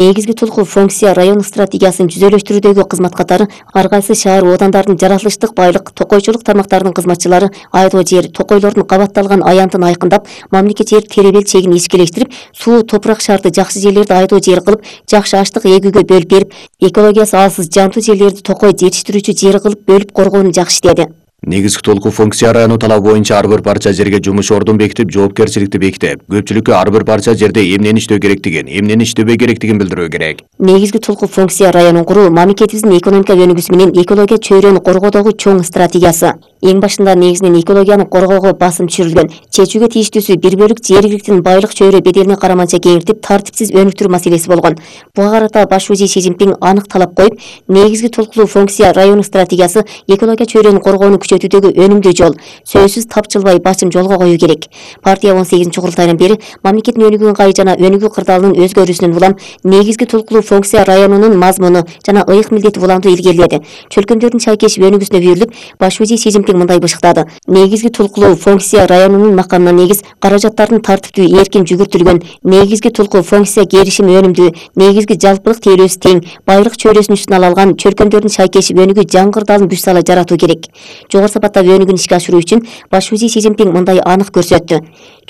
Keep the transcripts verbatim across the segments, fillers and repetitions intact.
Негизги толку функция район стратегиясын жүзөлөштүрүүдөгү кызмат катары ар кайсы шаар оодандардын жаратылыштык байлык, токойчулук тармактарынын кызматчылары айдоо жер, токойлордун кабатталган аянтын айкындап, мамлекет жер теребел чегин ишкелештирип, суу, топурак шарты жакшы жерлерди айдоо жер кылып, жакшы аштык эгүүгө бөлүп берип, экологиясы алсыз жантуу жерлерди токой жетиштирүүчү жер кылып бөлүп коргоону жакшы иштеди. Негизги толку функция району талабы боюнча ар бир парча жерге жумуш ордун бекитип, жоопкерчиликти бекитип, көпчүлүккө ар бир парча жерде эмнени иштөө керектигин, эмнени иштебей керектигин билдирүү керек. Негизги толку функция районун куруу мамлекетибиздин экономика өнүгүүсү менен экология чөйрөнү коргоодогу чоң стратегиясы. Эң башында негизинен экологияны коргоого басым түшүрүлгөн. Чечүүгө тийиштүүсү бир бөлүк жергиликтин байлык чөйрө беделине караманча кеңиртип, тартипсиз өнүктүрүү маселеси болгон. Буга карата баш шужий Си Цзиньпин анык талап коюп, негизги толкулуу функция району стратегиясы экология чөйрөнү коргоону күчөтүүдөгү өнүмдүү жол, сөзсүз тапчылбай басым жолго коюу керек. Партия он сегизинчи курултайдан бери мамлекеттин өнүгүү ыңгайы жана өнүгүү кырдаалынын өзгөрүүсүнүн улам негизги толкулуу функция районунун мазмуну жана ыйык милдети уламдуу илгериледи. Чөлкөмдөрдүн чайкешип өнүгүүсүнө бүйүрүлүп, баш шужий Си Цзиньпин мындай бышыктады. Негизги толкулуу функция районунун макамына негиз каражаттардын тартиптүү эркин жүгүртүлгөн, негизги толкулуу функция керишим өнүмдүү, негизги жалпылык тейлөөсү тең, байлык чөйрөсүн үстүнө ала алган, чөлкөмдөрдүн чайкешип өнүгүү жаңгырдаалын күч сала жаратуу керек. Жогору сапаттагы өнүгүүнү ишке ашыруу үчүн баш шужий Си Цзиньпин мындай анык көрсөттү.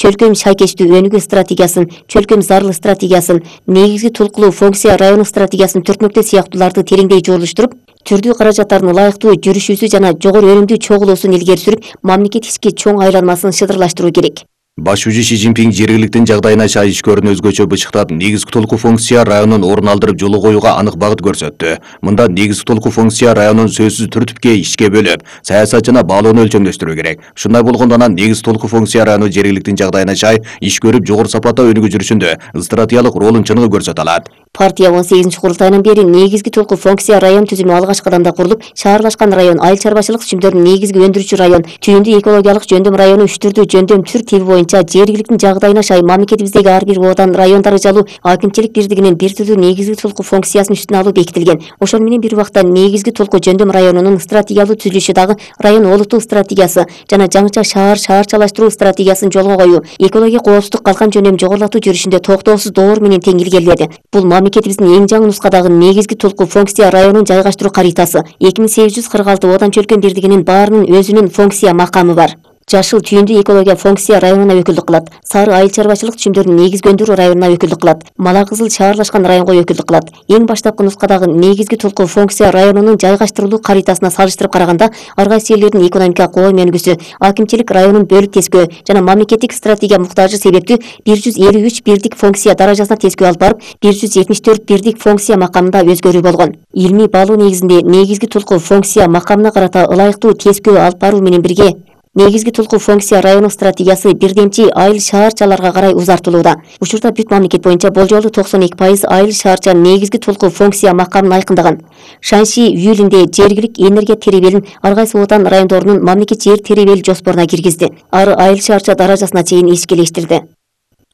Чөлкөм чайкечтүү өнүгүү стратегиясын, чөлкөм зарыл стратегиясын, негизги толкулуу функция району стратегиясын төртмөктө сыяктууларды тереңдей жолуштуруп, түрдүү каражаттардын ылайыктуу жүрүшүүсү жана жогору өнүмдүү чогулуусун илгери сүрүп, мамлекет ички чоң айланмасын шыдырлаштыруу керек. Баш шужий Си Цзиньпин жергиликтин жагдайына чай ишкөрүн өзгөчө бычыктап, негизги толку функция районун орун алдырып жолу коюуга анык багыт көрсөттү. Мында негизги толку функция районун сөзсүз түртүпкө ишке бөлүп, саясат жана баалоону өлчөмдөштүрүү керек. Ушундай болгондо анан негизги толку функция району жергиликтин жагдайына чай иш көрүп, жогору сапатта өнүгүү жүрүшүндө стратегиялык ролун чыныгы көрсөтө алат. Партия он сегизинчи курултайынан бери негизги толку функция район түзүмү алгачкы кадамда курулуп, шаарлашкан район, айыл чарбачылык түчүмдөрүнүн негизги өндүрүүчү район, түйүндүү экологиялык жөндөм району үч түрдүү жөндөм түр тиби боюнча жергиликтин жагдайына шай мамлекетибиздеги ар бир оодан район даражалуу акимчилик бирдигинин бир түрдүү негизги толку функциясын үстүнө алуу бекитилген. Ошону менен бир убакта негизги толку жөндөм районунун стратегиялуу түзүлүшү дагы район олуттуу стратегиясы жана жаңыча шаар шаарчалаштыруу стратегиясын жолго коюу, экология коопсуздук калкан жөндөм жогорулатуу жүрүшүндө токтоосуз доор менен тең илгериледи. Бул мамлекетибиздин эң жаңы нускадагы негизги толку функция районун жайгаштыруу каритасы. эки миң сегиз жүз кырк алты оодан чөлкөм бирдигинин баарынын өзүнүн функция макамы бар. Жашыл түйүндүү экология функция районуна өкүлдүк кылат. Сары айыл чарбачылык түчүмдөрүнүн негизги өндүрүү районуна өкүлдүк кылат. Мала кызыл шаарлашкан районго өкүлдүк кылат. Эң баштапкы нускадагы негизги толку функция районунун жайгаштырылуу каритасына салыштырып караганда, ар кайсы жерлердин экономика коом өнүгүүсү, акимчилик районун бөлүп тескөө жана мамлекеттик стратегия муктажы себептүү бир жүз элүү үч бирдик функция даражасына тескөө алып барып, бир жүз жетимиш төрт бирдик функция макамында өзгөрүү болгон. Илмий баалоо негизинде негизги толку функция макамына карата ылайыктуу тескөө алып баруу менен бирге негизги толку функция району стратегиясы бирдемчи айыл шаарчаларга карай узартылууда. Учурда бүт мамлекет боюнча болжолу токсон эки пайыз айыл шаарча негизги толку функция макамын айкындаган. Шаньши июлинде жергилик энергия теребелин ар кайсы оодан райондорунун мамлекет жер теребели жоспоруна киргизди. Ары айыл шаарча даражасына чейин ишкелештирди.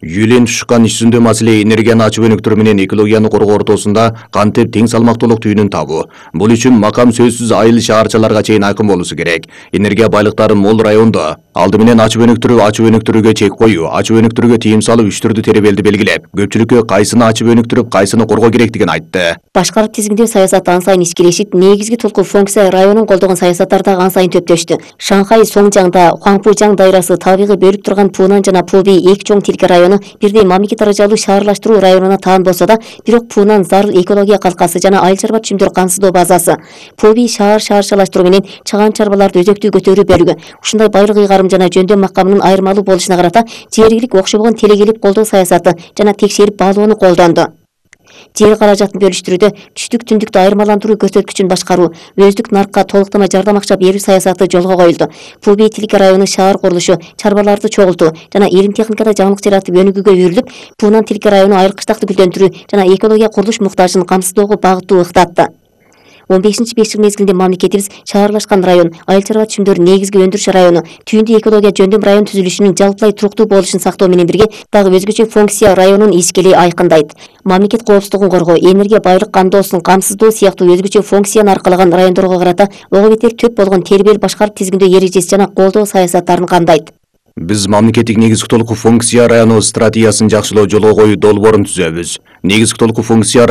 Юлен тушкан иш жүзүндө маселе энергияны ачып өнүктүрүү менен экологияны коргоо ортосунда кантип тең салмактуулук түйүнүн табуу. Бул үчүн макам сөзсүз айыл шаарчаларга чейин айкын болуусу керек. Энергия байлыктары мол райондо алды менен ачып өнүктүрүү, ачып өнүктүрүүгө чек коюу, ачып өнүктүрүүгө тыйым салып үч түрдүү теребелди белгилеп, көпчүлүккө кайсыны ачып өнүктүрүп, кайсыны коргоо керектигин айтты. Башкарып тизгиндөө саясаты ан сайын ишкелешип, негизги толку функция районун колдогон саясаттар дагы ан сайын төптөштү. Шанхай Соңжаңда Хуаңпужаң дайрасы табигый бөлүп турган Пунан жана Пуби эки чоң тилке району бирдей мамлекет даражалуу шаарлаштыруу районуна таан болсо да, бирок Пунан зарыл экология калкасы жана айыл чарба түчүмдөр камсыздоо базасы. Пуби шаар шаарчалаштыруу менен чыган чарбаларды өзөктүү көтөрүү бөлүгү. Ушундай байлык ыйгарым жана жөндөм макамынын айырмалуу болушуна карата жергилик окшобогон телегелип колдоо саясаты жана текшерип баалоону колдонду. Жер каражатын бөлүштүрүүдө түштүк түндүктү айырмаландыруу көрсөткүчүн башкаруу, өздүк наркка толуктама жардам акча берүү саясаты жолго коюлду. Пуби тилке району шаар курулушу, чарбаларды чогултуу жана илим техникада жаңылык жаратып өнүгүүгө үйрүлүп, Пунан тилке району айыл кыштакты гүлдөндүрүү жана экология курулуш муктажын камсыздоого багыттуу ыктатты. он бешинчи беш жыл мезгилинде мамлекетибиз шаарлашкан район, айыл чарба түчүмдөрүнүн негизги өндүрүш району, түйүндүү экология жөндөм район түзүлүшүнүн жалпылай туруктуу болушун сактоо менен бирге дагы өзгөчө функция районун ишкели айкындайт. Мамлекет коопсуздугун коргоо, энергия байлык кандоосун камсыздоо сыяктуу өзгөчө функцияны аркалаган райондорго карата ого бетер төп болгон тербел башкарып тизгиндөө эрежеси жана колдоо саясаттарын камдайт. Биз мамлекеттик негизги толук функция району стратегиясын жакшылоо жолго коюу долбоорун түзөбүз. Негизги толук функция